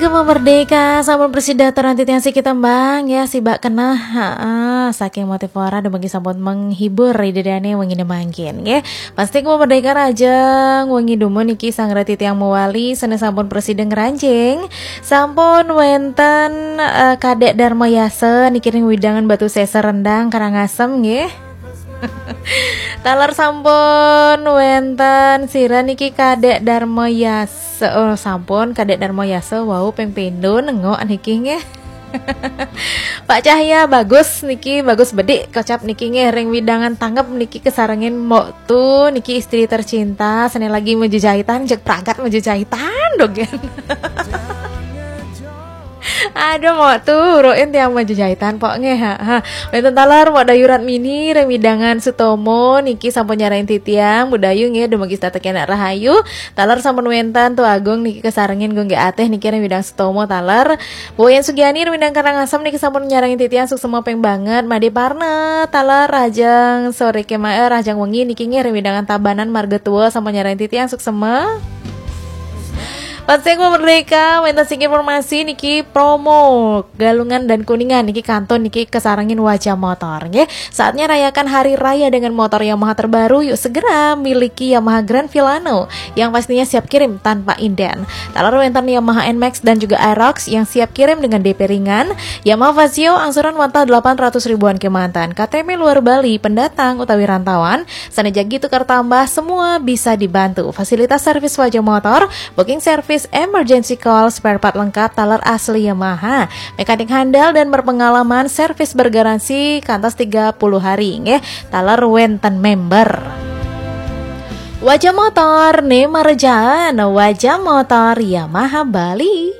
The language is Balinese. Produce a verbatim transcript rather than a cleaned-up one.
Gema Merdeka, sampun prasida atur titiang siki tembang ya, sibak keneh. Heeh, saking Motivora dumugi sampun menghibur ida dane wengi mangkin nggih. Pasti Gema Merdeka rahajeng wengi dumun niki sareng titiang mawali sane sampun prasida ngranjing. Sampun wenten eh, Kadek Darma Yasa niki ring wewidangan Batu Seser Rendang Karangasem nggih. Taler sampun wenten sira niki Kadek Darma Yasa. Oh, sampun Kadek Darma Yasa wau ping pindho nengok niki nggih. Pak Cahya bagus niki, bagus bedik kocap niki nggih ring wewidangan tanggep niki kesarengin Mbok Tu niki istri tercinta sane lagi majejahitan, jeg pragat majejahitan dogen. Aduh, Mbok Tu, urukin tiang majejahitan pok nggih. Ha, ha. Wenten taler Mbok Dayu Ratmini ring wewidangan Sutomo niki sampun nyarengin titiang, Mbok Dayu nggih dumugi setata kenak rahayu. Taler sampun wenten Tu Agung niki kesarengin Gung Ateh niki ring wewidangan Sutomo taler. Boyan Sugiani ring wewidangan Karangasem niki sampun nyarengin titiang, suksma ping banget. Made Parna taler rahajeng sore kemae, rahajeng wengi niki nggih ring wewidangan Tabanan Marga Tua sampun nyarengin titiang, suksma. Pasti Gema Merdeka, wenten siki informasi niki promo Galungan dan Kuningan niki kantun niki kesarengin Wajah Motor nggih. Saatnya rayakan hari raya dengan motor Yamaha terbaru, yuk segera miliki Yamaha Grand Filano yang pastinya siap kirim tanpa inden. Taler wenten Yamaha Nmax dan juga Aerox yang siap kirim dengan D P ringan, Yamaha Fazzio angsuran wantah delapan ratus ribuan kemanten, K T P luar Bali, pendatang utawi rantauan, sane jagi tukar tambah, semua bisa dibantu. Fasilitas servis Wajah Motor, booking service, emergency call, spare part lengkap, taler asli Yamaha. Mekanik handal dan berpengalaman, servis bergaransi kantos tiga puluh hari nggih. Taler wenten member. Wajah Motor ne marejaan, Wajah Motor Yamaha Bali.